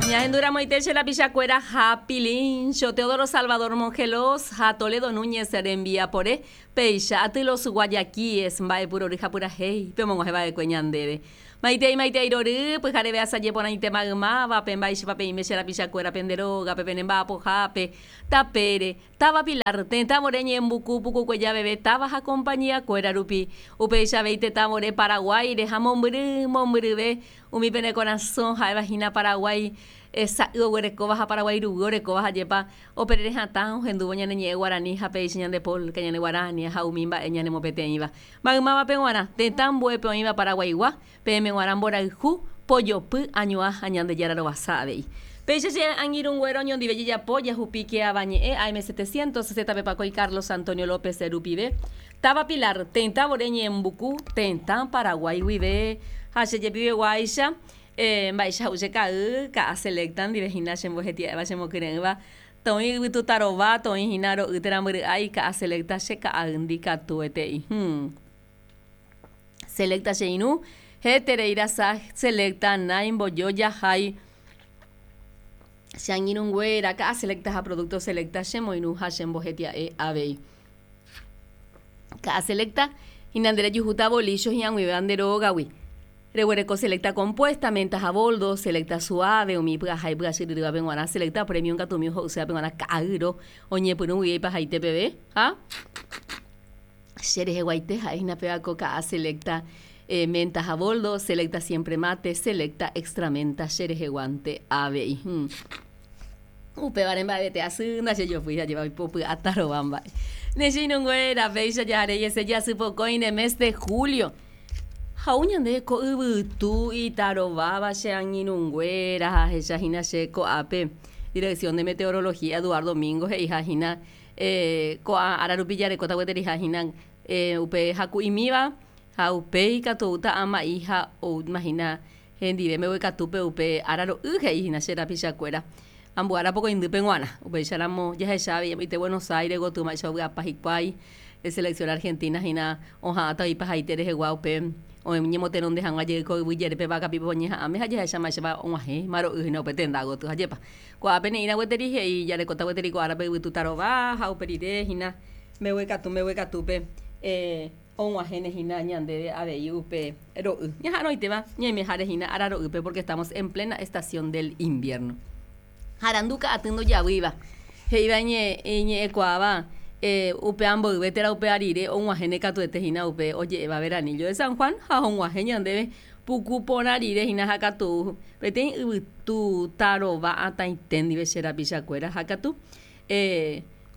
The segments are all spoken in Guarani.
Ñahenduramoite che rapichakuéra ha Pilincho, Teodoro Salvador Mongelós ha Toledo Núñez rembiapore, péicha aty Los Guayaquíes mba'epurory ha purahéi pe omog̃uahẽva'ekue ñandéve. Maitei maitei rory, pyhareve asaje porãite maymávape, mba'éichapa peime che rapichakuéra pende rógape, pene mba'apohápe, tapére, Táva Pilar, tetã vore ñembuku pukukue javeve táva ha compañía kuéra rupi. Upéicha avei tetã vore Paraguáire ha mombyry mombyryve umi pene korasõ ha'éva hína Paraguái sa'y oguerekóva ha Paraguái ruguy orekóva ha jepa operere hatã ohendúvo ñane ñe'ẽ guarani ha péicha ñande polka, ñane guarania ha umi mba'e ñanemopeteĩva. Maymávape g̃uarã, tetã ambuépe oĩva Paraguaigua, Peẽme g̃uarã mborayhu, pojopy, añuã ha Ñandejára rovasa avei. Péicha che angirũnguéra oñondive jejapo jahupíke avañe'ẽ AM 760 pepakói Carlos Antonio López rupive, táva Pilar, tetã vore Ñeembuku, tetã Paraguái guive. Ha che jepiveguáicha, mba'éicha ha'u che ka'y, ka'a selecta ndive hína chembohetia'éva chemokyre'ỹva, toĩ yvytu tarova, toĩ hína ro'y térã mbyry'ái, ka'a selecta che ka'aýndi katuete'i. Selecta che irũ, heterei rasa Selecta nái mbojoja hái che angirũnguéra ka'a Selecta ha producto Selecta che moirũ ha che mbohetia'e avei. Ka'a Selecta hína nde rejuhúta bolícho hi'ag̃uivéva nde rógagui. Reguereko Selecta compuesta, menta ha boldo, Selecta suave, umi py'aha ipy'achyryrývape g̃uarã, Selecta premium katu umi oho'ysévape g̃uarã ka'aýro oñepyrũ guive ipahaite peve ha. Che reheguaite ha'e hína péva ko ka'a selecta menta ha boldo, selecta siempre mate, selecta extra menta che reheguánte avei. Upévare mba'evete asy ndachejopýi ajépa oipopy'a tarova mba'e. Ne che irũnguéra, péicha jaharei hese jasy pokõi mes de julio. Ha ou ñande ko yvytu itarováva che angirũnguéra ha ahecha hína che ko'ápe Dirección de Meteorología Eduardo Mingo he'iha hína Ko'ã ára rupi jarekóta gueteriha hína upe haku'imíva ha upéi katu oúta ama'i ha oúma hína hendive mbeguekatúpe upe ára ro'y he'i hína che rapichakuéra ambue ára pokõindýpe g̃uarã. Upéicharamo jahecha avei amoite Buenos Aires gotyo mba'éicha ovy'apa hikuái selección Argentina hína oha'ãta oipahaite rehegua upe oñemotenonde hag̃ua jey ko yvy jerépe vakapipe oñeha'ãme ha jahecha mba'éichapa og̃uahẽma ro'y hína upe tenda gotyo. Ajépa. Ko'ápe ne'ĩra gueteri he'i jarekóta gueteri ko árape yvytu tarova ha upe rire hína mbeguekatu mbeguekatúpe og̃uahẽne hína ñandéve avei upe ro'y. Ñaha'arõitéva ñaimeháre hína ára ro'ýpe porque estamos en plena estación del invierno. Ha arandu ka'aty ndojavýiva, he'íva iñe'ẽkuaáva upéva mboyve térã upéva rire og̃uahẽne katuete hína upe oje'éva veranillo de San Juan ha og̃uahẽ ñandéve Puku porã rire hína ha katu peteĩ yvytu tarova atãite ndive che rapichakuéra ha katu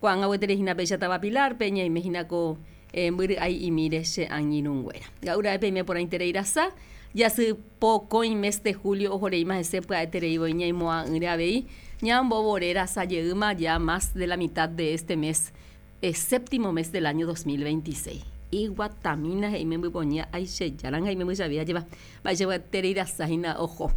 ko'ág̃a gueteri hína péicha táva Pilar-pe ñaime hína ko mbyry'ai'imíre che angirũnguéra. Ga'u ra'e peime porãiterei rasa, jasy pokõi mes de julio ohoreíma hese pya'eterei voi ñaimo'ã'ỹre avei ñambovore rasa jeýma ya más de la mitad de este mes Séptimo mes del año 2026. Iguatamína he'i membypoñía aichejáranga imembychavi ajépa mba'eichagua tereirasa hína oho.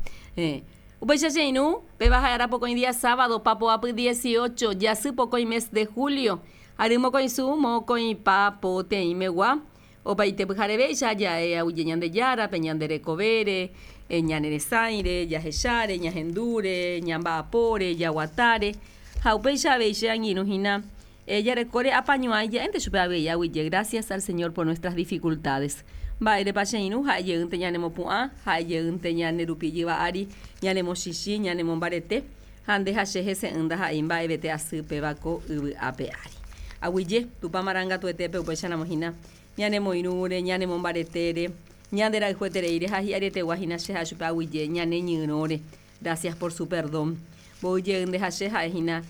Upéicha che irũ, péva ha'e ára pokõi día sábado, papoapy 18, jasy pokõi mes de julio, ary mokõisu mokõipa poteĩmegua, opaite pyharevéicha ja'e aguyje Ñandejárape, ñande rekovére, ñane resãire, jahecháre, ñahendúre, ñamba'apóre, jaguatáre, ha upéicha avei che angirũ hína Jarekóre apañuãi ja'énte chupe avei aguyje gracias al Señor por nuestras dificultades. Mba'érepa che irũ ha'e jeýnte ñanemopu'ã, ha'e jeýnte ñane rupi jyva ári, ñanemochichĩ, ñanemombarete, ha nde ha che hese'ỹ ndaha'éi mba'evete asy péva ko yvy ape ári. Aguyje, Tupã marangatuetépe upéicharamo hína ñanemoirũre, ñanemombaretére, ñande rayhuetereíre ha hi'arietegua hína che ha'e chupe aguyje ñane ñyrõre. Gracias por su perdón. Mboy jey nde ha che ha'e hína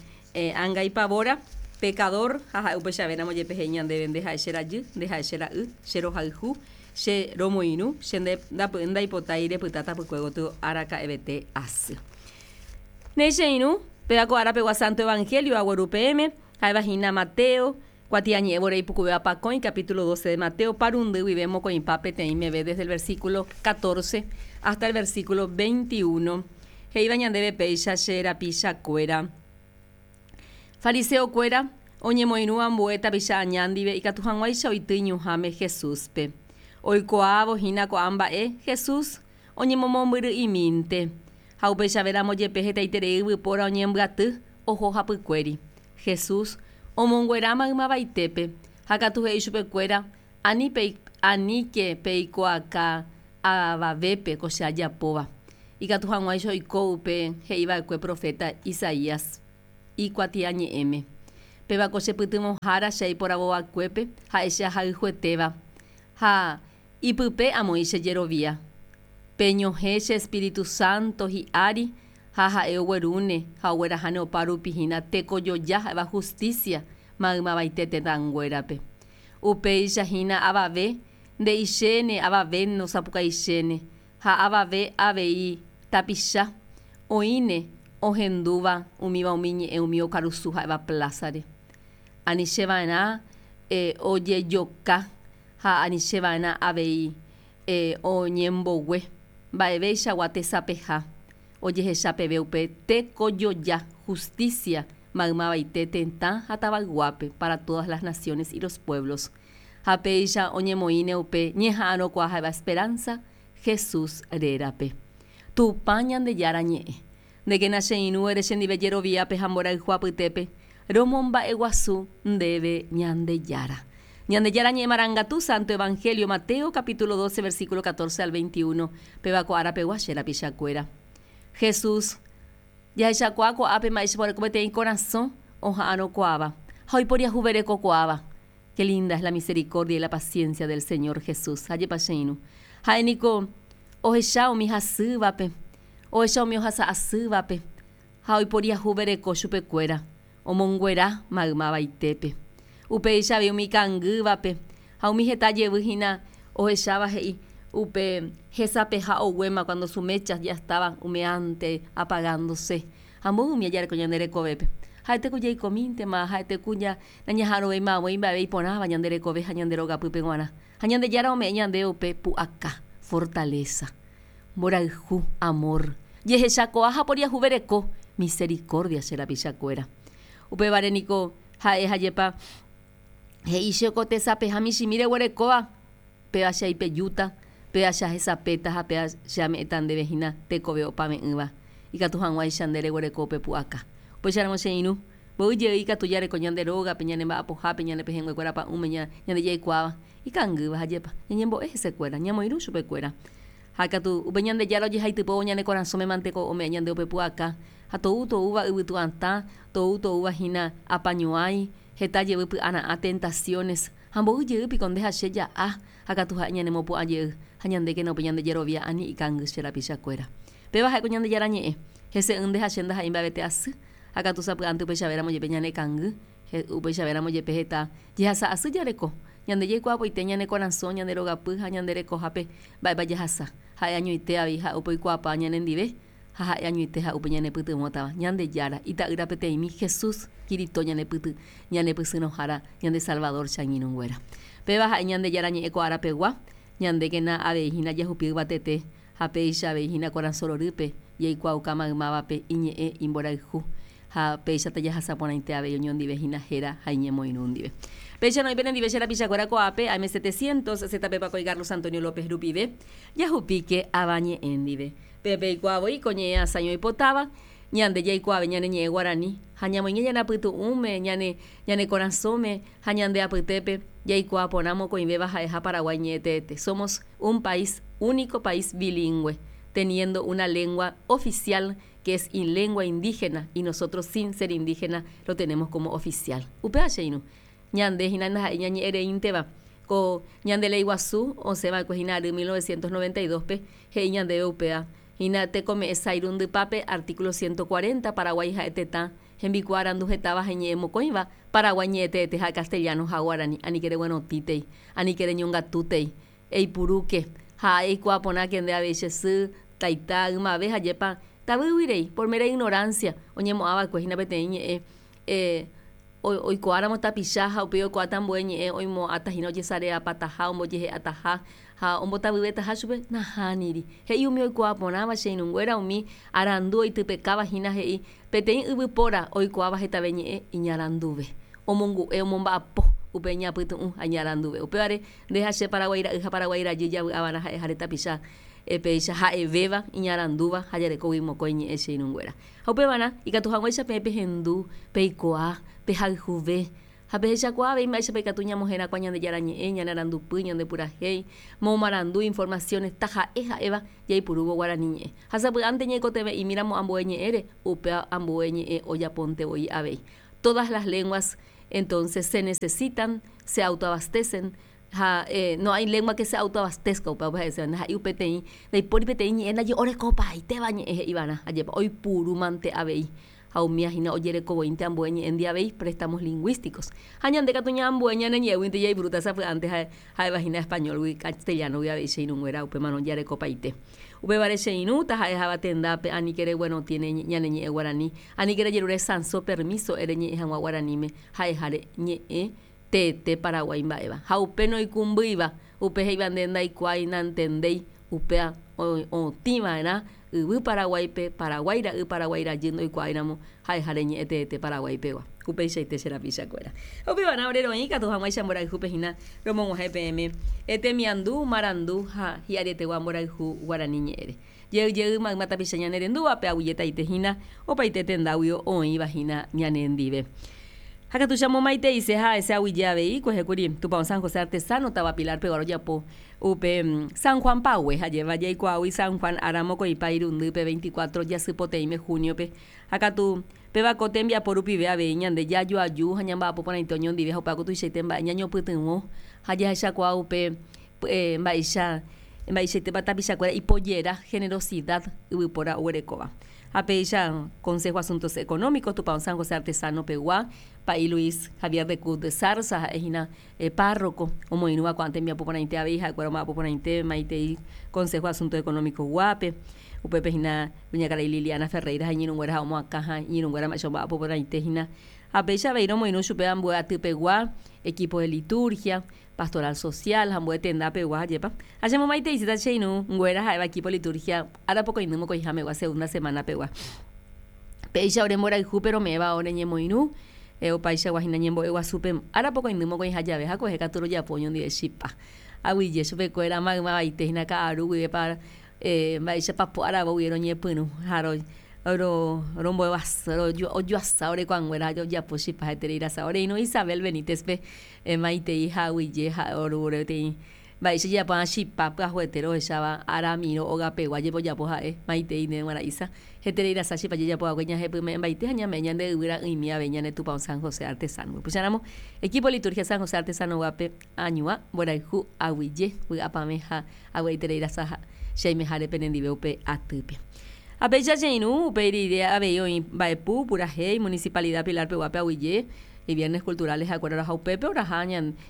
angaipavóra, pecador, ha ha'e upeichavéramo jepe he'i ñandéve nde ha'e che rajy, nde ha'e che ra'y, che rohayhu, che romoirũ, che ndapy'ỹ ndaipotái repyta tapykue gotyo araka'evete asy. Néi che irũ, péva ko árapegua Santo Evangelio agueru peẽme, ha'éva hína Mateo, Kuatiañe'ẽ vore ipukuvéva pakõi, capítulo 12 de Mateo, parundy guive mokõipa peteĩ meve desde el versículo 14 hasta el versículo 21, he'íva ñandéve péicha che rapichakuéra. Fariseo-kuéra oñemoirũ ambue tapicha aña ndive ikatu hag̃uáicha oity iñuhãme Jesús-pe. Oikuaávo hína ko'ã mba'e, Jesús oñemomombyry'imínte. Ha upeichavéramo jepe hetaiterei yvypóra oñembyaty oho hapykuéri. Jesús omonguera maymavaitépe, ha katu he'i chupekuéra, Ani aníke peikuaaka avavépe ko che ajapóva, ikatu hag̃uáicha oiko upe he'iva'ekue proféta Isaías ikuatiañe'ẽme, Péva ko che pytyvõhára che aiporavova'ekuépe ha'e che ahayhuetéva, ha ipype amoĩ che jerovia. Peñohẽ che Espíritu Santo hi'ári ha ha'e oguerúne ha ogueraháne opa rupi hína tekojoja ha'éva hustísia maymavaite tetãnguérape. Upéicha hína avave nde'ichéne avave nosapukaichéne ha avave avei tapicha oĩne ohendúva umíva umi ñe'ẽ umi okarusu ha'éva plásare. Anicheva'erã ojejoka ha anicheva'erã avei oñembogue mba'evéichagua tesapeha ojehecha peve upe tekojoja, justicia, maymavaite tetã ha tavayguápe, para todas las naciones y los pueblos. Ha péicha oñemoĩne upe ñeha'arõkuaa ha'éva esperanza, Jesús rérape. Tupã Ñandejára ñe'ẽ. Ndékena che irũ ere chendive jeroviápe ha mborayhu apytépe, romomba'eguasu ndéve Ñandejára. Ñandejára ñe'ẽ marangatu Santo Evangelio Mateo capítulo 12 versículo 14 al 21 péva ko ára pegua che rapichakuéra. Jesús jahechakuaa ko'ápe mba'éichapa oreko peteĩ korasõ oha'arõkuaáva ha oiporiahuverekokuaáva. Qué linda es la misericordia y la paciencia del Señor Jesús. Ajépa che irũ. Ha'e niko ohecha umi hasývape, ohecha umi ohasa asývape ha oiporiahuvereko chupekuéra, omonguera maymavaitépe. Upéicha avei umi ikangývape ha umi heta jevy hína ohecháva he'i upe hesapeha oguéma cuando su mecha ya estaba humeante, apagándose. Ha mboy umi ajareko ñande rekovépe. Ha'ete ku jaikomíntema, ha'ete ku nañaha'arõvéima avoi mba'eve iporãva ñande rekove ha ñande rogapýpe g̃uarã. Ha Ñandejára ome'ẽ ñandéve upe pu'aka, fortaleza, mborayhu, amor, jehechakuaa ha poriahuvereko, misericordia, che rapichakuéra. Upévare niko ha'e hajépa he'i che ko tesapeha michĩmi reguerekóva, péva che aipejúta, péva che ahesapéta ha péva che ame'ẽta ndéve hína tekove opave'ỹva, ikatu hag̃uáicha nde reguereko upe pu'aka. Upéicharamo che irũ, mboy jey ikatu jareko ñande rógape, ñane mba'apohápe, ñane pehẽnguekuéra pa'ũme, ñande jaikuaáva, ikangýva ha jepa, ñañembo'e hesekuéra, ñamoirũ chupekuéra. Ha katu, upe Ñandejára ojehaitypóvo ñane korasõme mante ko ome'ẽ ñande upe pu'aka, ha tou toúva yvytu atã, tou toúva hína apañuãi, heta jevy py'ara'ã, tentaciones, ha mboy jey piko nde ha che ja'a, ha katu ha'e ñanemopu'ã jey, ha ñandékena upe ñande jerovia ani ikangy che rapichakuéra. Péva ha'éko Ñandejára ñe'ẽ, hese'ỹ nde ha che ndaha'éi mba'evete asy, ha katu sapy'ánte upeichavéramo jepe ñane kangy, upeichavéramo jepe heta jehasa asy jareko. Ñande jaikuaapoite ñane korasõ, ñande rogapy ha ñande rekohápe mba'épa jahasa. Ha'e añoite avei ha'e upe oikuaapáva ñanendive ha ha'e añoite ha'e upe ñanepytyvõtava. Ñandejára, Ita'ýra peteĩmi, Jesús, Kirito ñanepyty, ñanepysyrõhára, ñande Salvador che angirũnguéra. Péva ha'e Ñandejára ñe'ẽ ko ára pegua, ñandékena avei hína jahupi yvatete ha péicha avei hína korasõ rorýpe jaikuaauka maymávape iñe'ẽ imborayhu ha péicha tajahasa porãite avei oñondive hína héra ha iñemoirũ ndive. Péicha noĩ penendive che rapichakuéra ko'ápe, AM 700, ZP Pakoi Carlos Antonio López rupive, jahupíke ava ñe'ẽ ndive. Peẽ peikuaa voi ko ñe'ẽ asãi oipotáva, ñande jaikuaave ñane ñe'ẽ guarani, ha ñamoinge ñane apytu'ũme, ñane ñane korasõme ha ñande apytépe, jaikuaa porã mokõivéva ha'eha Paraguái ñe'ẽteete. Somos un país único país bilingüe, teniendo una lengua oficial que es in lengua indígena y nosotros sin ser indígena lo tenemos como oficial. Upéva che irũ, ñande hína ndaha'éi ñañe'ẽ reínteva. Ko ñande léi guasu osẽ va'ekue hína ary 1992-pe he'i ñandéve upéva hína tekome'ẽ sái rundypápe artículo 140 Paraguái ha'e tetã hembikuaa arandu hetáva ha iñe'ẽ mokõiva, Paraguái ñe'ẽteete ha castellano ha guarani, anike reguerotĩtei, anike reñongatútei, Eipurúke, ha eikuaa porãke nde avei che sy, taita, ymave ha jepa tavýgui rei, por mera ignorancia, oñemo'ã va'ekue hína peteĩ ñe'ẽ oikuaáramo tapicha ha upéi oikuaáta ambue ñe'ẽ oimo'ãta hína ojesareapataha, ombojehe'ataha ha ombotavyvetaha chupe, nahániri. He'i umi oikuaa porãva che irũnguéra umi arandu oitypekáva hína he'i peteĩ yvypóra oikuaáva hetave ñe'ẽ iñaranduve, omongu'e, omomba'apo upe iñapytu'ũ ha iñaranduve. Upévare Nde ha che Paraguái ra'y ha Paraguái rajy javy'avarã ha'eháre tapicha. Péicha ha'evéva iñarandúva ha jarekógui mokõi ñe'ẽ che irũnguéra. Ha upevarã, ikatu hag̃uáicha peẽ pehendu, peikuaa, pehayhuve, ha pehechakuaa avei mba'éichapa ikatu ñamoherakuã Ñandejára Ñe'ẽ, ñane arandupy, ñande purahéi, momarandu, informaciones, taha'e ha'éva jaipurúvo guarani ñe'ẽ. Ha sapy'ánte ñaikotevẽ'imíramo ambue ñe'ẽre, upéva ambue ñe'ẽ ojapónte voi avei. Todas las lenguas, entonces, se necesitan, se autoabastecen, Ha no hay lengua que se autoabastezca upéva upe ha'ese ndaha'éi upeteĩ ndaipóri peteĩ ñe'ẽ ndaje orekopaitéva ñe'ẽ he'ivarã ajépa oipuru mante avei ha umíva hína ojerekovoínte ambue ñe'ẽndi avei préstamos lingũísticos ha ñande katu ñaambue ñane ñe'ẽguinte jaipurúta sapy'ánte ha'éva hína español-gui castellano-gui avei che irũnguéra upémarõ jarekopaite upévare che irũ taha'eháva tendápe aníke reguerotĩ ñane ñe'ẽ guarani aníke rejerure sãso permiso ereñe'ẽ hag̃ua guaraníme ha'eháre ñe'ẽ teete Paraguái mba'éva. Ha upe noikũmbýiva, upe he'íva nde ndaikuaái, nantendéi, upéva otĩ va'erã yvy Paraguáipe, Paraguái ra'y, Paraguái rajy ndoikuaáiramo ha'eha reñe'ẽ teete Paraguái pegua. Upeichaite che rapichakuéra. Ha upevarã ore roĩ katu hag̃uáicha mborayhúpe hína romog̃uahẽ peẽme temiandu, marandu ha hi'arietegua mborayhu guarani ñe'ẽre. Jey jey mayma tapicha ñane rendúvape aguyjetaite hína opaite tendáguio oĩva hína ñane ndive. Ha katu che amomaiteise ha hese aguyje avei kuehe kuri Tupão San José Artesano táva Pilar pegua rojapo upe San Juan pague ha jeva jaikuaágui San Juan ára mokõipa irundýpe 24 jasypoteĩme junio-pe ha katu péva ko tembiapo rupive avei ñande jajoaju ha ñamba'apo porãite oñondive ha upéva ko tuichaite mba'e ñañopytyvõ ha jahechakuaa upe Mba'éicha mba'eichaitépa tapichakuéra ipojera generosidad yvypóra oguerekóva. Ha péicha Consejo Asuntos Económicos Tupão San José Artesano pegua, Pa'i Luis Javier de Cud de Zarza ha'e hína párroco omoirũva ko'ã tembiapo porãite avei ha'ekuéra omba'apo porãite maitei Consejo Asuntos Económicos guápe. Upépe hína kuñakarai Liliana Ferreira ha iñirũnguéra ha omoakã ha iñirũnguéra mba'éicha omba'apo porãite hína. Ha péicha avei romoirũ chupe ambue aty pegua, equipo de liturgia, Pastoral social ha ambue tenda pegua ajépa. Ha che momaiteisíta che irũ nguéra ha'éva equipo liturgia ára pokõindy mokõiha megua segunda semana pegua. Péicha ore mborayhúpe rome'ẽva ore ñemoirũ opaichagua hína ñembo'e guasúpe ára pokõindy mokõiha jave ha kuehe katu rojapo oñondive chipa. Aguyje chupekuéra maymavaite hína ka'aru guivépa mba'éichapa po aravo guive roñepyrũ ha rombo'eguasu ojoasa ore kuãnguéra ha ojapo chipa heterei rasa. Ore irũ Isabel Benítez-pe Emaitei ha aguyje ha'e oru peteĩ mba'éicha jajapo chipa pyahuete rohecháva aramirõ ogapegua jepe ojapo ha'e maitei ndéve g̃uarã Isa. Heterei rasa chipa jajapo va'ekue ñahepyme'ẽmbaite ha ñame'ẽ ñande yvy ra'ỹimi avei ñane Tupão San José Artesano-gui. Upéicharamo, Equipo Liturgia San José Artesano-guápe añuã, mborayhu, aguyje, vy'apavẽ ha avy'aiterei rasa ha che aimeháre penendive upe atýpe. Ha péicha che irũ, upe rire avei oĩ mba'epu, purahéi, Municipalidad Pilar peguápe aguyje, Viernes culturales ha'ekuéra oraha upépe oraha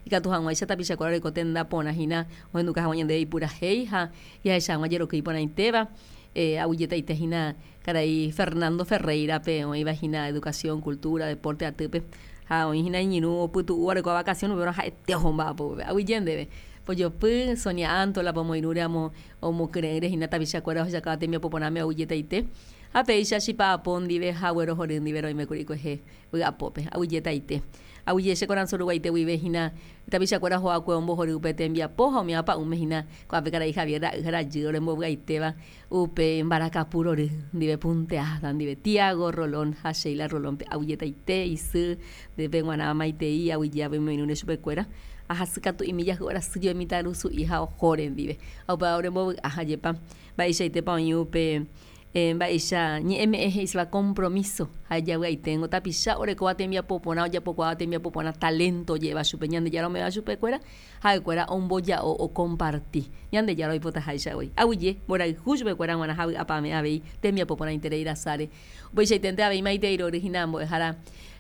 ikatu hag̃uáicha tapichakuéra oreko tenda porã hína ohenduka hag̃ua ñandéve ipurahéi ha jahecha hag̃ua jeroky iporãitéva. Aguyjetaite hína karai Fernando Ferreira-pe oĩva hína Educación, Cultura, Deporte atýpe ha oĩ hína iñirũ opytu'úva orekóva vacación upéva ha'ete oho mba'apo upépe. Aguyje ndéve. Pojopy, Sonia Antola pomoirũre amo omokyre'ỹre hína tapichakuéra ohechakáva tembiapo porãme aguyjetaite. Ha péicha chipa'apo ndive ha guerohory ndive roĩmekuri kuehe. Vy'apópe. Aguyjetaite. Aguyje che korasõ ruguaite guive hína tapichakuéra oho'akue ombohory upe tembiapo ha umi apa'ũme hína ko'ápe karai Javier ra'y ha rajy orembovy'aitéva upe mbarakapu rory ndive punteada ndive Tiago Rolón ha Sheila Rolón-pe. Aguyjetaite isy ndépe g̃uarã maitei aguyje avei omoirũre chupekuéra ha hasykatu'imi jahy'o rasy jave mitãrusu'i ha ohóre ndive. Ha upéva orembovy'a ha jepa mba'eichaitépa oĩ upe Mba'éicha ñe'ẽme'ẽ he'íseva compromiso ha javy'aiténgo tapicha orekóva tembiapo porã ojapokuaáva tembiapo porã talento oje'éva chupe Ñandejára ome'ẽva chupekuéra ha'ekuéra omboja'o okomparti Ñandejára oipotaháicha voi. Aguyje mborayhu chupekuéra g̃uarã ha vy'apavẽ avei tembiapo porãiterei rasáre. Upeichaiténte avei maitei rory hína mbo'ehára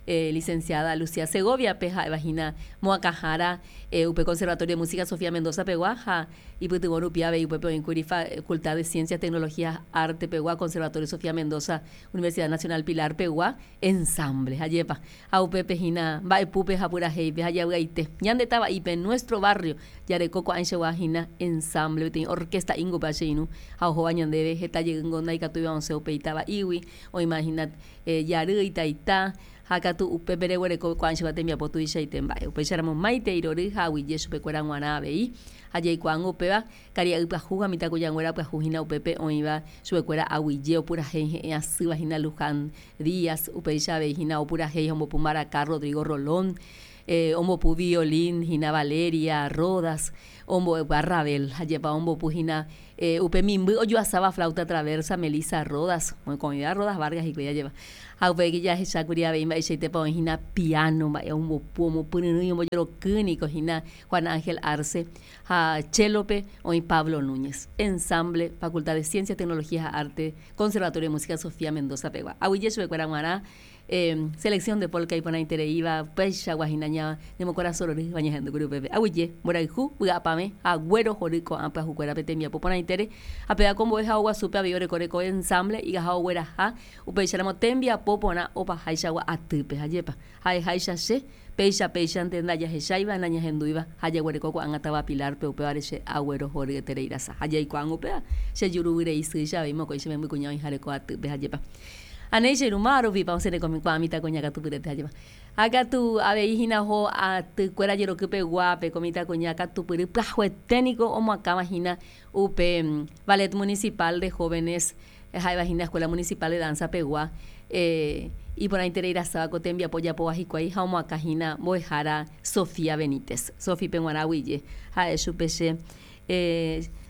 Licenciada Lucía Segovia-pe ha'éva hína moakãhára upe Conservatorio de Música Sofía Mendoza pegua ha Ipytyvõ rupi avei upépe oĩkuri Facultad de Ciencias, Tecnologías, Arte pegua, Conservatorio Sofía Mendoza, Universidad Nacional Pilar pegua, ensamble. Ajépa. Ha upépe hína mba'epúpe ha purahéipe ha javy'aite. Ñande tava'ípe, nuestro barrio, jareko ko'ãichagua hína ensamble, peteĩ orquesta íngope che irũ ha ohóva ñandéve heta jeýngo ndaikatúiva osẽ upe itava'ígui, oĩma hína jarýi, taita, ha katu. katu upépe reguereko ko'ãichagua tembiapo tuichaite mba'e. Upéicharamo maitei rory ha aguyje chupekuéra g̃uarã avei ha jaikuaángo upéva karia'y pyahu ha mitãkuñanguéra pyahu hína upépe oĩva chupekuéra aguyje opurahéi he'ẽ asýva hína Luján Díaz, upéicha avei hína opurahéi ha ombopu mbaraka Rodrigo Rolón, ombopu violín hína Valeria Rodas, ombo'e Ravel, ajépa ombopu hína upe mimby ojoasáva flauta traversa Melissa Rodas, mokõivéva Rodas Vargas hikuái ajépa. Ha upéi jahechákuri avei mba'eichaitépa oĩ hína piano mba'e ombopu, omopyryrỹi, ombojeroky niko hína Juan Ángel Arce ha chélope oĩ Pablo Núñez. Ensamble Facultad de Ciencias, Tecnología ha Arte Conservatorio de Música Sofía Mendoza pegua. Aguyje chupekuéra g̃uarã Selección de polka iporãitereíva upeichagua hína ñanemokorasõ rorýva ñahendúkuri upépe. Aguyje, mborayhu, vy'apavẽ ha guerohory ko'ã pyahukuérape tembiapo porãitére ha péva ko mbo'ehao guasúpe avei oreko reko ensamble igaha ogueraha upéicharamo tembiapo porã opaháichagua atýpe. Ajépa, ha'eháicha che, péicha péichante ndajahecháiva, nañahendúiva ha jaguereko ko'ág̃a táva Pilar-pe upévare che aguerohoryeterei rasa. Ha jaikuaángo upéva, che juruvyrei sýicha avei mokõi che membykuña oĩha reko atýpe. Ajépa. Anéi che irũma rupipa osẽ rekomikuaa mitãkuña katupyrete ajépa. Ha katu avei hína oho atykuéra jeroky peguápe ko mitãkuña katupyry pyahuete niko omoakãva hína upe Ballet Municipal de Jóvenes ha'éva hína Escuela Municipal de Danza pegua iporãiterei rasáva ko tembiapo ojapóva hikuái ha omoakã hína mbo'ehára Sofía Benítez. Sofi-pe g̃uarã aguyje ha'e chupe che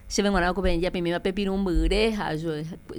Chéve g̃uarã ko peẽ japimíva pe pirũmbyre ha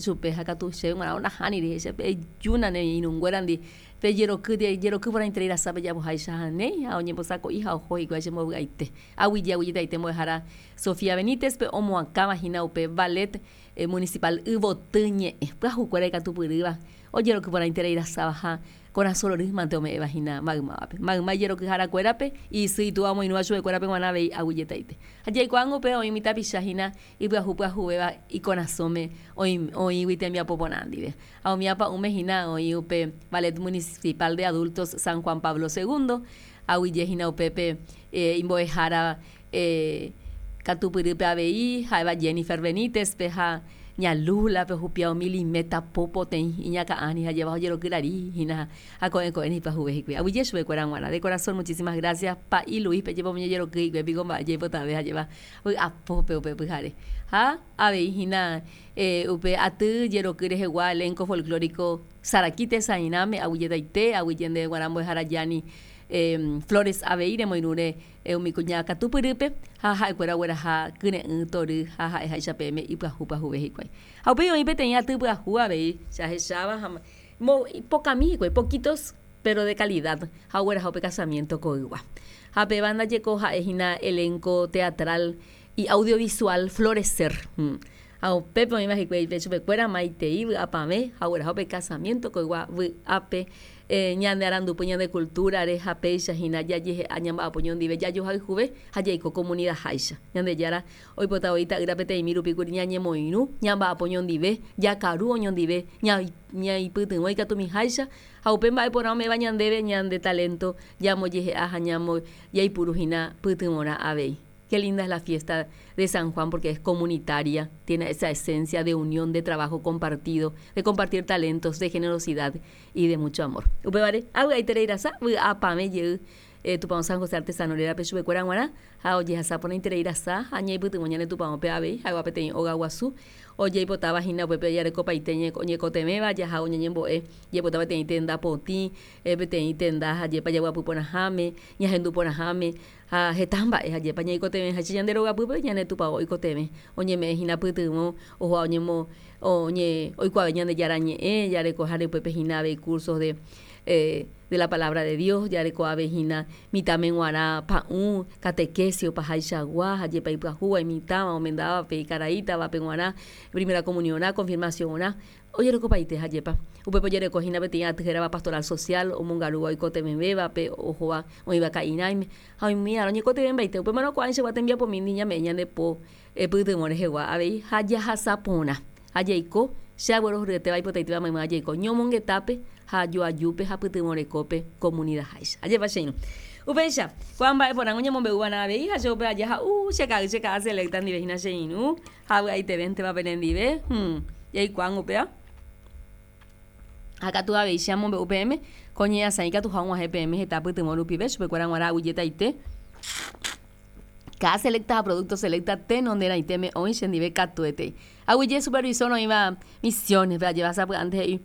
chupe ha katu chéve g̃uarã nahániri he'i chéve ejúna ne irũnguérandi pejeroky jeroky porãiterei rasa pejapoháicha ha néi ha oñembosako'i ha oho hikuái chembovy'aite. Aguyje aguyjetaite mbo'ehára Sofía Benítez-pe omoakãva hína upe Ballet Municipal Yvoty ñe'ẽ pyahukuéra ikatupyrýva ojeroky porãiterei rasáva ha Korasõ rory mante ome'ẽva hína maymávape. Mayma ijerokyharakuérape, isy itúva omoirũva chupekuérape g̃uarã avei aguyjetaite. Ha jaikuaángo upéva oĩ umi tapicha hína ipyahu pyahuvéva ikorasõme oĩgui tembiapo porã ndive. Ha umi apa'ũme hína oĩ upe Ballet Municipal de Adultos San Juan Pablo Segundo, aguyje hína upépe imbo'ehára katupyrýpe avei, ha'éva Jennifer Benítez-pe ha ña Lula-pe ohupia umi limeta po poteĩ iñakã'ári ha jeva ojerokyrari hína ha ko'ẽ ko'ẽre ipyahuve hikuái. Aguyje chupekuéra g̃uarã. De corazón muchísimas gracias Pa'i Luis-pe jepe omoñejeroky hikuái piko mba'e jaipotave ha jeva vy'apópe upe pyhare. Ha avei hína upe aty jeroky rehegua elenco folclórico Saraki tesãirãme aguyjetaite, aguyje ndéve g̃uarã mbo'ehára Gianni Flores avei remoirũre Umi kuña katupyrýpe ha ha'ekuéra ogueraha kyre'ỹ tory ha ha'eháicha peẽme ipyahu pyahuve hikuái. Ha upéi oĩ peteĩ aty pyahu avei che ahecháva ha pokãmi hikuái, poquitos pero de calidad, ha ogueraha upe casamiento koygua. Ha péva ndajeko ha'e hína elenco teatral y audiovisual Florecer. Ha upépe oĩva hikuái pe chupekuéra maitei vy'apavẽ ha ogueraha upe casamiento koygua vy'ápe ñande arandupy ñande cultura-re ha péicha hína jajehe'a ñamba'apo ñondive jajohayhuve ha jaiko comunidad-háicha. Ñandejára oipota voi Ta'ýra peteĩmi rupi kuri ñañemoirũ, ñamba'apo ñondive, jakaru oñondive, ñaipytyvõ ikatumiháicha ha upe mba'e porã ome'ẽva ñandéve ñande talento jambojehe'a ha jaipuru hína pytyvõrã avei. Qué linda es la fiesta de San Juan porque es comunitaria, tiene esa esencia de unión, de trabajo compartido, de compartir talentos, de generosidad y de mucho amor. Upévare, avy'aiterei rasa, vy'apavẽ jey Tupão San José Artesano rérape chupekuéra g̃uarã ha ojehasa porãiterei rasa ha ñaipytyvõ ñane tupãópe avei ha'éva peteĩ óga guasu ojeipotáva hína upépe jarekopaite oñekotevẽva jaha oñeñembo'e jaipota peteĩ tenda potĩ, peteĩ tenda hajépa jaguapy porãháme, ñahendu porãháme Ha heta mba'e ajépa ñaikotevẽháicha ñande rogapýpe ñane tupao oikotevẽ, oñeme'ẽ hína pytyvõ oho'a oñemo oñe oikuaave Ñandejára ñe'ẽ, jareko hare upépe hína avei cursos de de la palabra de Dios, jareko avei hína mitãme g̃uarã pa'ũ, catequesis opahaichagua, ajépa ipyahúva, imitãva, omendávape, ikaraítavape g̃uarã, primera comunión-rã, confirmación-rã. Ojerekopaite ha jepa. Upépe ojereko hína peteĩ aty hérava Pastoral Social, omongarúva oikotevẽvévape, ohóva oĩva ka'irãime, ha oimíarõ oñekotevẽmbaite. Upémarõ ko'ãichagua tembiapomíndi ñame'ẽ ñande po pytyvõ rehegua avei ha jahasa porã. Ha jaiko, che aguerohoryetéva aipotaitéva maymáva jaiko ñomongetápe ha joajúpe ha pytyvõ rekópe komunidaháicha. Ajépa che irũ. Upéicha, ko'ã mba'e porãngo ñamombe'uva'erã avei ha che upe aja ha'u che ka'ay che ka'a selecta ndive hína che irũ. Ha avy'aitevénteva penendive, jaikuaángo upéva. Ha katu avei che amombe'u peẽme, ko ñe'ãsã ikatuha og̃uahẽ peẽme heta pytyvõ rupive chupekuéra g̃uarã aguyjetaite. Káda selecta ha producto selecta tenonderãitéme oĩ chendive katuete. Aguyje supervisor oĩva Misiones-pe ajéva sapy'ánte he'i,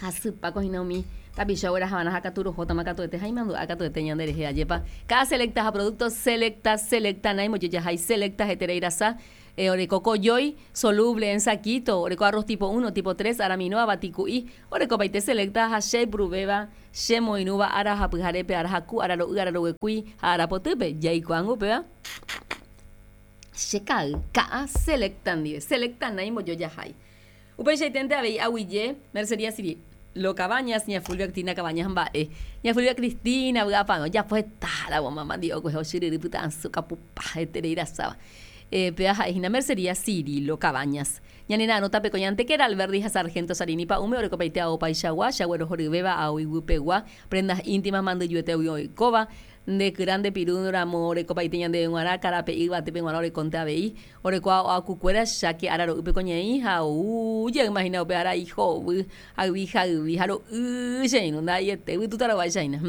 Hasypa ko hína umi tapicha oguerahava'erã ha katu rohótama katuete ha imandu'a katuete ñande rehe. Ajépa káda selecta ha producto selecta, selecta naimojojahái selecta heterei rasa Oreko kojói, soluble en saquito, oreko arroz tipo uno, tipo tres, aramino, avati ku'i, orekopaite selecta ha che aipuruvéva che moirũva ára ha pyharépe, ára haku, ára ro'y, ára roguekúi ha ára potýpe. Jaikuaángo upéva che ka'ay, ka'a selecta ndive, selecta naimbojojahái. Upeichaiténte avei aguyje Mercería Cirilo Cabañas, ña Fulvia Cristina Cabañas mba'e. Ña Fulvia Cristina vy'apavẽ ojapo heta ramo mama ndive okuehe ochyryry pyta'asy okapupa heterei rasáva. Péva ha'e hína Mercería Cirilo Cabañas. Ñanera'arõ tapeko ñantekéra Alberdi ha Sargento Sarini pa'ũme orekopaite ao opaichagua, chaguerohoryvéva ao iguypegua, prendas íntimas mandyjuetégui oikóva, Nde kyra nde piru ramo orekopaite ñandéve g̃uarã, karape'i yvatépe g̃uarã orekónte avei. Orekóva oakukuéra cháke ára ro'ýpe ko ñe'ẽ ha ou jeýma hína upe ára ihovy, hayvi hayvi ha ro'y che irũ ndaha'eiete yvytúta rováicha hína.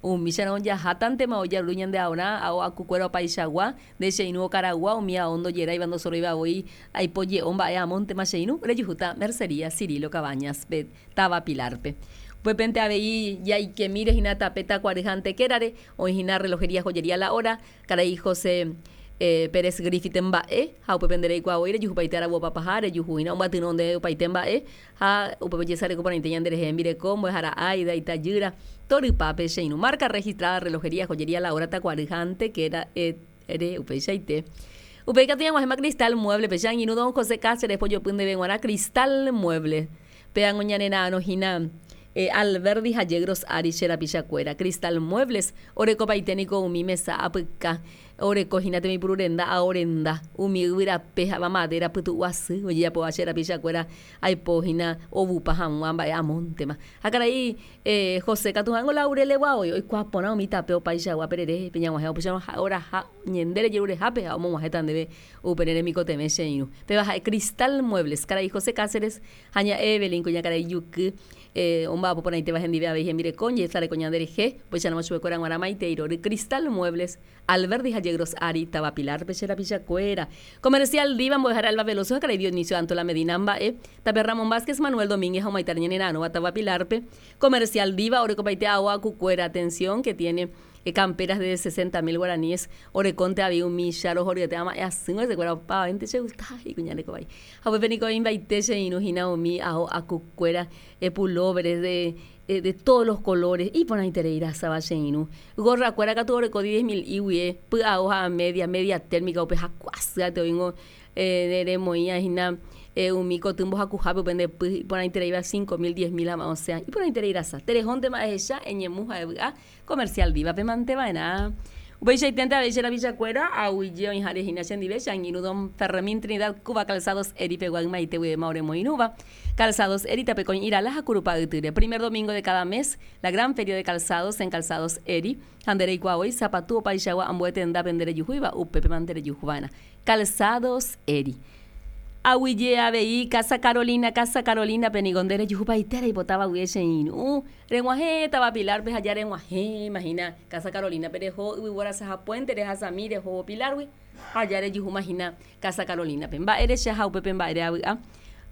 Umícharõ jahátantema ojaruru ñande aorã, ao akukuéra opaichagua, nde che irũ okaragua, umi ao ndojeráiva ndosoróiva voi, aipo je'o mba'e amóntema che irũ, rejuhúta Mercería Cirilo Cabañas-pe. táva Pilar-pe. Upépente avei jaikemíre hína tape Takuary ha Antequera-re, oĩ hína relojería Joyería La Hora, karai José Pérez Griffith mba'e, ha upépe nde reikuaa voi rejuhupaite aravu opapaha, rejuhu hína ombyatyrõ nde opaite mba'e, ha upépe ojesareko porãite ñande rehe hembireko, mbo'ehára Aida, itajýra, torypápe che irũ. Marca registrada Relojería Joyería La Hora Takuary ha Antequera-re, upeichaite. Upéi katu ñag̃uahẽma Cristal Mueble-pe, che angirũ don José Cáceres pojopy ndéve g̃uarã Cristal Mueble. Péango ñanera'arõ hína Alberdi ha Yegros ári che rapichakuéra. Cristal Muebles orekopaite niko umi mesa apyka, oreko hína temipuru renda ao renda, umi yvyrape ha'éva madera pytu'u asy ojejapóva che rapichakuéra aipo hína ovupa hag̃ua mba'e amóntema. Ha karai José katu ha'éngo Laurelegua voi, oikuaa porã umi tape opaichagua perere pe ñag̃uahẽva upéicharõ ha'e oraha ñande rejerurehápe ha omog̃uahẽta ndéve Upe ne remikotevẽ che irũ. Péva ha'e Cristal Muebles, karai José Cáceres ha ña Evelyn kuñakarai juky omba'apo porãitéva hendive avei hembireko ojesareko ñande rehe, upéicharamo chupekuéra g̃uarã maitei rory Cristal Muebles, Alberdi ha Yegros ári, táva Pilar-pe che rapichakuéra. Comercial Diva, mbo'ehára Elba Veloso ha karai Dionisio Antola Medina mba'e, tape Ramón Vázquez, Manuel Domínguez ha omaitáre ñane ra'arõva táva Pilar-pe. Comercial Diva orekopaite ao akukuéra, atención, que tiene Camperas de 60 mil guaraníes orekónte avei umi cha rohoryete ama'ẽ asýva hesekuéra opavavénte che gusta he'i kuña reko vai. Ha upépe niko oĩmbaite che irũ hína umi ao akukuéra, pulóveres de de todos los colores iporãiterei rasava che irũ. Gorra kuéra katu oreko diez mil iguie, py'ao ha media, media térmica upe haku asývate oĩngo remoĩva hína umi koty mbohakuhápe upe nde py iporãitereíva cinco mil, diez mil ha osẽva. Iporãiterei rasa. Terehóntema ehecha, eñemu ha evy'a. Comercial Diva-pe mante va'erã. Upeichaiténte avei che rapichakuéra, aguyje oĩháre hína chendive, che angirũ don Fermín Trinidad Cuba Calzados Eri pegua ymaite guivéma oremoirũva. Calzados Eri tapekõi Irala ha Kurupa ytýre. Primer domingo de cada mes, la gran feria de calzados en Calzados Eri. Ha nde reikuaa voi, sapatu opaichagua ambue tendápe nde rejuhúiva, upépe mante rejuhu va'erã. Calzados Eri. Aguyje avei Casa Carolina, Casa Carolina-pe niko nde rejuhupaite reipotáva guive che irũ. Reg̃uahẽ táva Pilar-pe ha ja reg̃uahẽma hína Casa Carolina-pe reho yvyvorasaha puente rehasami rehóvo Pilar-gui ha ja rejuhúma hína Casa Carolina-pe. Mba'e reche ha upépe mba'ére avy'a?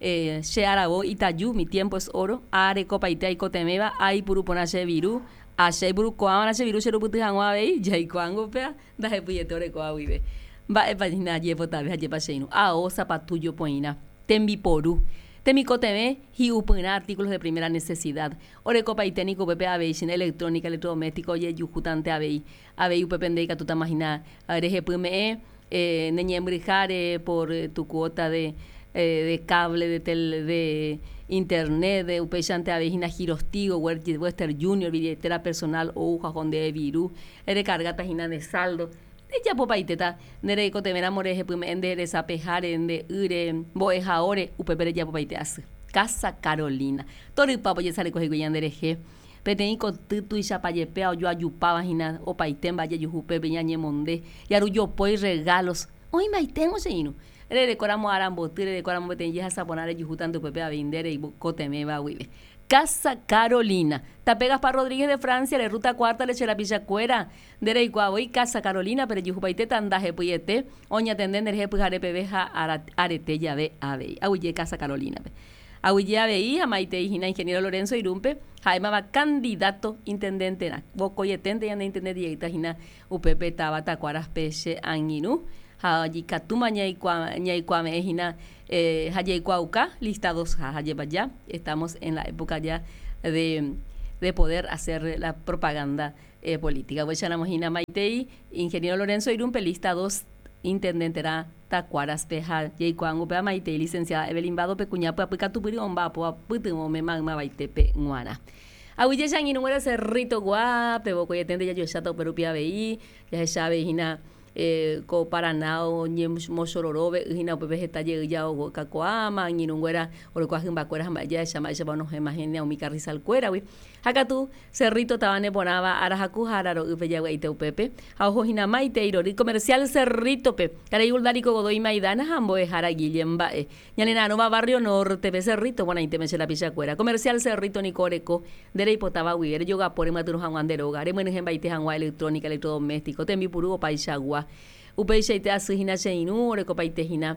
Che aravo itaju, mi tiempo es oro, arekopaite aikotevẽva, aipuru porã che viru, ha che aipuru ko'ãvarã che viru cherupyty hag̃ua avei, jaikuaángo upéva ndahepyiete orekóva guive. Mba'épa hína jepotave ha jepa che irũ? Ao, sapatu jopoirã, tembiporu. Temikotevẽ hi'upyrã artículos de primera necesidad. Orekopaite niko upépe avei china electrónica, electrodoméstico ojejuhútante avei. Avei upépe nde ikatútama hína rehepyme'ẽ ne ñembyryháre por tu cuota de de cable, de tel de internet, de upéichante avei hína Girostigo, Western Junior, billetera personal ou ha oho ndéve viru, recargáta hína nde saldo. Rejapopaitéta nde reikotevẽramo rehepyme'ẽ nde resapeháre, nde ýre, mbo'ehaóre, upépe rejapopaite asy. Casa Carolina. Torypa ojesareko hikuái ñande rehe. Peteĩ koty tuichapa jepéva ojoajupáva hína opaite mba'e jajuhu upépe ñañemonde, jaru jopói regalos. Oĩmbaiténgo che irũ. Rerekóramo aramboty, rerekóramo peteĩ jehasa porã rejuhúta nde upépe avei nde reikotevẽva guive. Casa Carolina. Tape Gaspar Rodríguez de Francia re, ruta cuarta re che rapichakuéra. Nde reikuaa voi Casa Carolina pe rejuhupaitéta ndahepyiete oñatende nderehe pyhare peve ha arete jave avei. Aguyje Casa Carolina pe. Aguyje avei ha maitei hína Ingeniero Lorenzo Irún-pe, ha'émava candidato intendente-rã. Vokoieténte ñande intendente jeýta hína upépe táva Takuaras-pe che angirũ ha ikatúma ñaikuave'ẽ hína ha jaikuaauka listados ha jajepa ya estamos en la época ya de de poder hacer la propaganda política. Upéicharamo hína maitei Ingeniero Lorenzo Irún-pe lista dos intendente-rã Takuaras-pe ha jaikuaángo upéva maitei Licenciada Evelyn Vado-pe kuña pyapy katupyry omba'apóva pytyvõme maymavaitépe g̃uarã. Aguyje che angirũnguéra Cerrito guápe, vokoieténte jajoecháta upérupi avei, jahecha avei hína ko Paraná oñemochororove y hína upépe heta jey jaokakuaáma, angirũnguéra orekóva hymbakuéra ha mba'e jahecha mba'éichapa onohẽma hína umi carrizal-kuéragui. Ha katu, Cerrito táva neporãva ára haku ha ára ro'ýpe javy'aite upépe, ha oho hína maitei rory Comercial Cerrito-pe, karai Uldarico Godoy Maidana ha mbo'ehára Guillem mba'e. Ñanera'arõva Barrio Norte-pe, Cerrito porãitéme che rapichakuéra. Comercial Cerrito niko oreko, nde reipotáva guive, rejogapo remyatyrõ hag̃ua nde róga, remyenyhẽmbaite hag̃ua electrónica, electrodoméstico, tembipuru opaichagua. Upeichaite asy hína che irũ, orekopaite hína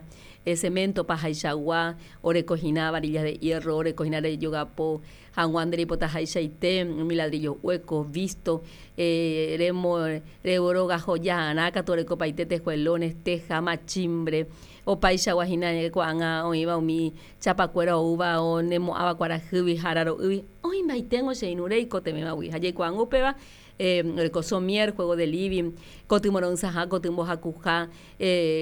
cemento pahaichagua, oreko hína varillas de hierro, oreko hína rejogapo hag̃ua nde reipotahaichaite, umi ladrillo hueco, visto, remo, rerogajojaharã katu orekopaite tejuelones, teja, machimbre, Opaichagua hína ko'ág̃a oĩva umi chapakuéra oúva onemo'ãva kuarahýgui ha araro'ýgui, oĩmbaiténgo che irũ reikotevẽvagui. Ha jaikuaángo upéva, oreko somier, juego de living, koty moro'ysãha, koty mbohakuha,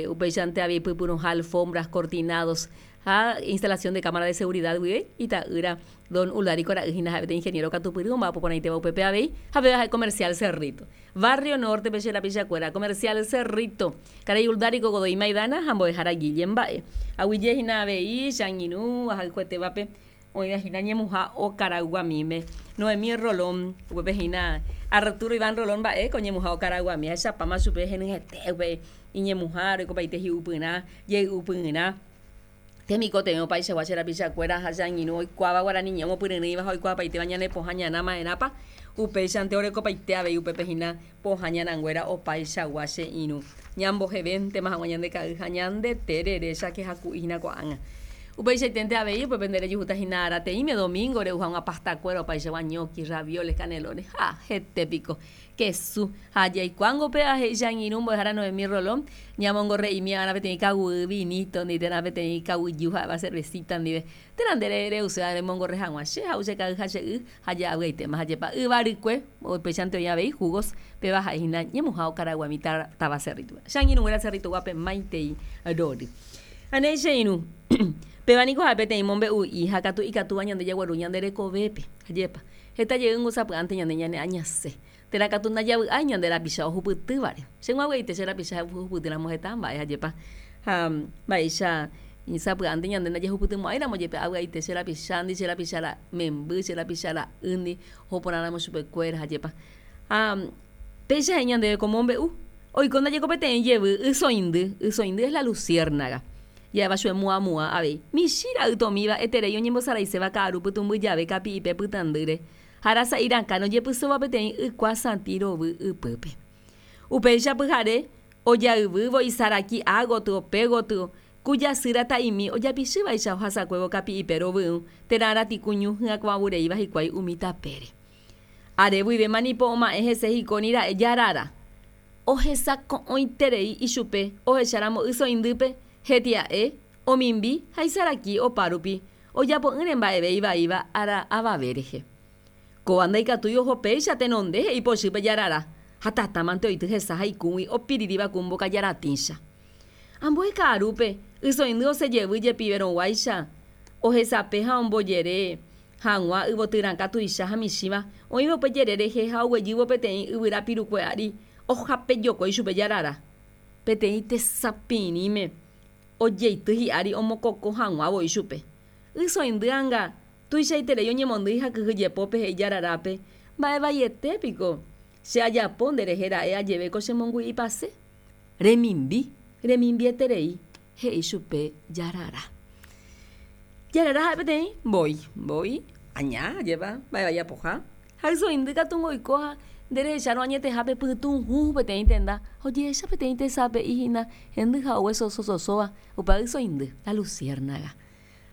upéichante avei pypyrũha, alfombras, cortinados ha instalación de cámara de seguridad guive, ita'ýra don Uldarico ra'y hína ha'e peteĩ ingeniero katupyry omba'apo porãitéva upépe avei ha péva ha'e comercial Cerrito. Barrio Norte-pe che rapichakuéra, Comercial Cerrito, karai Uldarico Godoy Maidana ha mbo'ehára Guille mba'e. Aguyje hína avei che angirũ ahayhuetévape oĩva hína ñemuha Okarayguamíme. Noemí Rolón, upépe hína Arturo Iván Rolón mba'e ko ñemuha Okarayguami. Ahechapáma chupe henyhẽte upe iñemuha, orekopaite hi'upyrã, jey'upyrã. Temikotevẽ opaichagua che rapichakuéra ha che angirũ oikuaáva guarani ñe'ẽ omopyryrỹiva ha oikuaapaitéva ñane pohã ñana ma'erãpa, upéichante orekopaite avei upépe hína pohã ñananguéra opaichagua che irũ. Ñambohevéntema hag̃ua ñande ka'y ha ñande terere cháke haku'i hína ko'ág̃a. Upeichaiténte avei upépe nde rejuhúta hína arateĩme domingo re'u hag̃ua pastakuéra opaichagua ñoqui, ravioles, canelones ha hete piko. Kesu. Ha jaikuáango upéva, he'i che angirũ mbo'ehára Noemí Rolón, ñamongorre'imi va'erã peteĩ kaguy vinito ndive térã peteĩ kaguyju ha'éva cervecita ndive. Térã nde re'uséva remongorre hag̃ua che ha'u che ka'y ha che y ha ja'avy'aitéma ha jepa yva rykue, upéichante oĩ avei jugos, péva ha'e hína ñemuha okaraguami táva Cerrito-pe. Che angirũnguéra Cerrito-guápe maitei rory. Ha néi che irũ, péva niko ha'e peteĩ mombe'u'i ha katu ikatúva ñande jagueru ñande rekovépe. Ajépa. Heta jeýngo sapy'ánte ñande ñaneañase, térã katu ndajavy'ái ñande rapicha ohupytývare. Che g̃uagueite che rapicha ohupytýramo heta mba'e ajépa. Ha mba'éicha sapy'ánte ñande ndajahupytymo'ãiramo jepe avy'aite che rapichándi, che rapicha memby, che rapicha ra'ýndi, oho porãramo chupekuéra ajépa. Ha péicha he'i ñandéve ko mombe'u, oiko ndajeko peteĩ jevy ysoindy, ysoindy es la luciérnaga. Ja'éva chupe muamua avei. Michĩ ra'y tomíva eterei oñembosaraiséva ka'aru pytũmby jave kapi'ipe pytãndýre ha rasa'i rakãre ojepysóva peteĩ ykua satĩ rovy ypýpe. Upéicha pyhare ojayvývo isaraki ágotyo pégotyo ku jasy rata'imi ojapichývaicha ohasakuévo kapi'ipe rovyũ térã ratiku ñu hyakuãvureíva hikuái umi tapére. Are guivéma nipo oma'ẽ hese hikóni ra'e jarara. Ohesako'õiterei ichupe ohecháramo ysoindýpe, hetia'e, omimbi ha isaraki opárupi, ojapo'ỹre mba'eve ivaíva ára avave rehe. Kóva ndaikatúi oho péicha tenonde he'i pochýpe jarara, ha tata mante oity hesa ha ikũgui opiriríva ku mbokajaratĩcha. Ambue ka'arúpe, ysoindy osẽ jevy jepiverõguáicha, ohesape ha ombojere hag̃ua yvoty rakã tuicha ha michĩva oĩva upe jere rehe ha oguejývo peteĩ yvyra pirukue ári ohapejokói chupe jarara. Peteĩ tesapirĩme ojeity hi'ári omokokõ hag̃ua voi chupe. Ysoindy anga tuichaiterei oñemondýi ha kyhyjepópe he'i jararápe, Mba'e vaiete piko che ajapo nde rehe ra'e ajeve ko chemongu'ipase. Remimbi, remimbieterei. He'i chupe Jarara. Jarara ha'e peteĩ mbói, mbói, aña, ajépa, mba'e vai apoha. Ha ysoindy katu oiko ha nde rehechárõ añetehápe pytũ hũ peteĩ tenda ha ojehecha peteĩ tesape'i hína hendy ha ogue sosososóva upe ysoindy, la luciérnaga.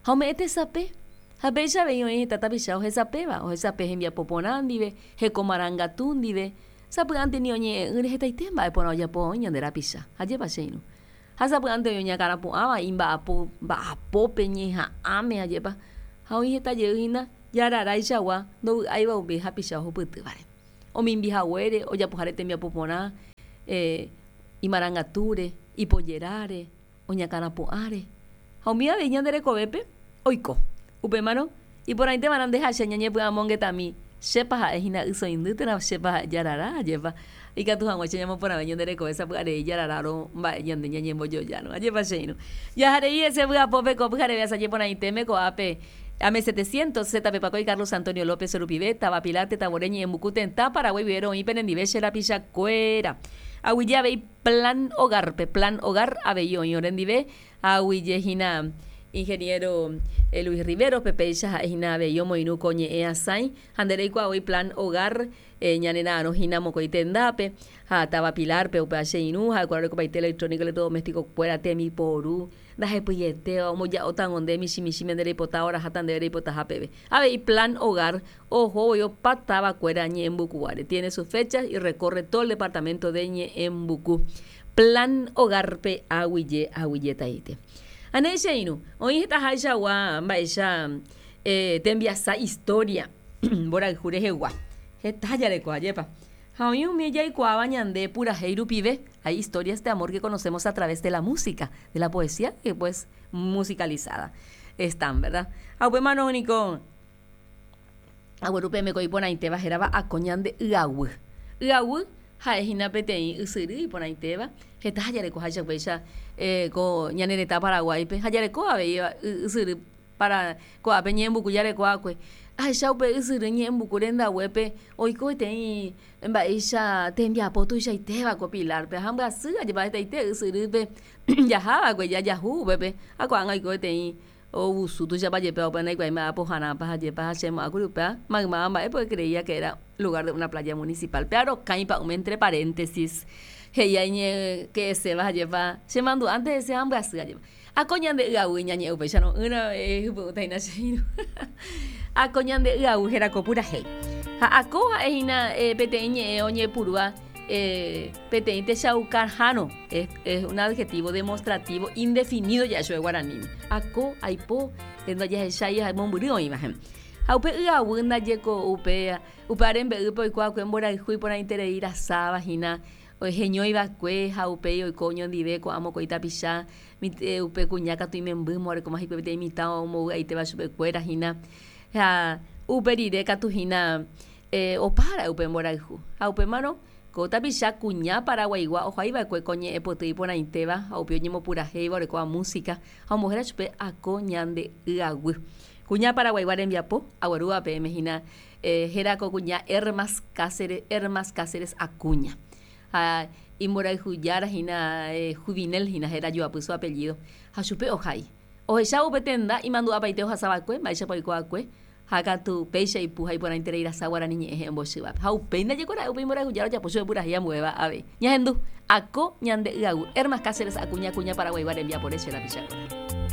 Ha ome'ẽ tesape, ha péicha avei oĩ heta tapicha ohesapéva, ohesape hembiapo porã ndive, heko marangatu ndive, sapy'ánte ni oñe'ẽ'ỹre hetaite mba'e porã ojapo oĩ ñande rapicha. Ajépa che irũ. Ha sapy'ánte oĩ oñakãrapu'ãva imba'apo mba'apópe ñeha'ãme ajépa, ha oĩ heta jey hína jararaichagua ndovy'áiva upe hapicha ohupytývare. Omimbi haguére, ojapoháre tembiapo porã imarangatúre, ipojeráre, oñakãrapu'ãre. Ha umi avei ñande rekovépe oiko. Upémarõ, iporãiteva'erã nde ha che ñañepy'amongetami, Chépa ha'e hína ysoindy térã chépa ha'e jarara? Ajépa ikatu hag̃uáicha ñamoporãve ñande rekove sapy'arei jararárõ mba'e ñande ñañembojojárõ. Ajépa che irũ. Jaharei hese vy'apópe ko pyhareve asaje porãitéme ko'ápe Ame 700, ZP Pakói Carlos Antonio López rupive, táva Pilar, Tetãvore Ñe'ẽmbuku tetã Paraguái guive roĩ penendive che rapichakuéra. Aguyje avei Plan Hogar-pe, Plan Hogar avei oĩ orendive, Aguyje hína Ingeniero Luis Rivero-pe, péicha ha'e hína avei omoirũ ko ñe'ẽ asãi ha nde reikuaa voi Plan Hogar ñane ra'arõ hína mokõi tendápe ha táva Pilar-pe, upéva che irũ ha'ekuéra orekopaite electrónico electrodoméstico-kuéra tembiporu ndahepyetéva omboja'óta nde michĩ michĩme nde reipota oraháta ndéve reipotaha peve. Avei Plan Hogar oho voi opa távakuéra Ñe'ẽmbukuguáre. Tiene sus fechas y recorre todo el departamento de Ñe'ẽmbuku. Plan Hogar-pe aguyje aguyjetaite. Anéi che irũ, oĩ hetaháichagua mba'éicha tembiasa historia mborayhu rehegua. Heta jareko, ajépa. Ha oĩ umi jaikuaáva ñande purahéi rupive, hay historias de amor que conocemos a través de la música, de la poesía que pues musicalizada están, verdad? Ha upémarõ niko agueru peẽme ko iporãitéva hérava ako ñande Ygaguy. Ygaguy ha'e hína peteĩ ysyry iporãitéva, heta jarekoháicha upéicha ko ñane retã Paraguáipe ha jareko avei ysyry para ko'ápe ñe'ẽmbuku jareko va'ekue. Ahecha upe ysyry ñe'ẽmbuku rendaguépe oiko peteĩ mba'éicha tembiapo tuichaitéva ko Pilar-pe ha mbyasy ajépa hetaite ysyrýpe jaha va'ekue jajahu upépe ha ko'ág̃a oiko peteĩ Ovusu tuichapa jepe upe ndaikuaái mba'e apoharãpa ha jepa ha che mo'ãkuri upéva maymáva mba'e porque creía que era lugar de una playa municipal. Pe arokãi pa'ũme entre paréntesis he'i aiñe ke'eséva ha jepa che mandu'ánte hese ha ambyasy ajépa. Ako ñande y'aguy ñañe'ẽ upéicharõ ỹrõ hypy'ũta hína che irũ. Ako ñande y'aguy héra ko purahéi. Ha ako ha'e hína peteĩ ñe'ẽ oñepyrũva Peteĩ techaukarhárõ es un adjetivo demostrativo indefinido ja'e chupe guaraníme. Ako, aipo, ndajahechái ha mombyry oĩva. Ha upe y'aguy ndaje ko upe upe rembe'ýpe oiko va'ekue mborayhu iporãiterei rasáva hína heñói va'ekue ha upéi oiko oñondive ko'ã mokõi tapicha upe kuña katu imembýma orekóma hikuái peteĩ mitã ombovy'aitéva chupekuéra hína ha upe rire katu hína Opa ra'e upe mborayhu. Ha upémarõ, ko tapicha kuña Paraguaigua ohaiva'ekue ko ñe'ẽ poty iporãitéva ha upe oñembopurahéiva orekóva música ha ombohéra chupe Ako Ñande Y'aguy. Kuña Paraguaigua rembiapo, aguerúva peẽme hína héra ko kuña Hermas Cáceres, Hermas Cáceres Acuña. Ha imborayhujára hína Juvinel hína héra joapy su apellido. Ha chupe ohai. Ohechávo upe tenda imandu'apaite ohasava'ekue, mba'éichapa oiko'akue, Ha katu péicha ipu ha iporãiterei rasa guarani ñe'ẽ he'ẽmbochyvape. Ha upéi ndajekora'e upe imborayhujára ojapo chupe purahéi ambuéva avei. Ñahendu, Ako ñande y'aguy, Hermas Cáceres Acuña kuña Paraguaigua rembiapore che rapichakuéra.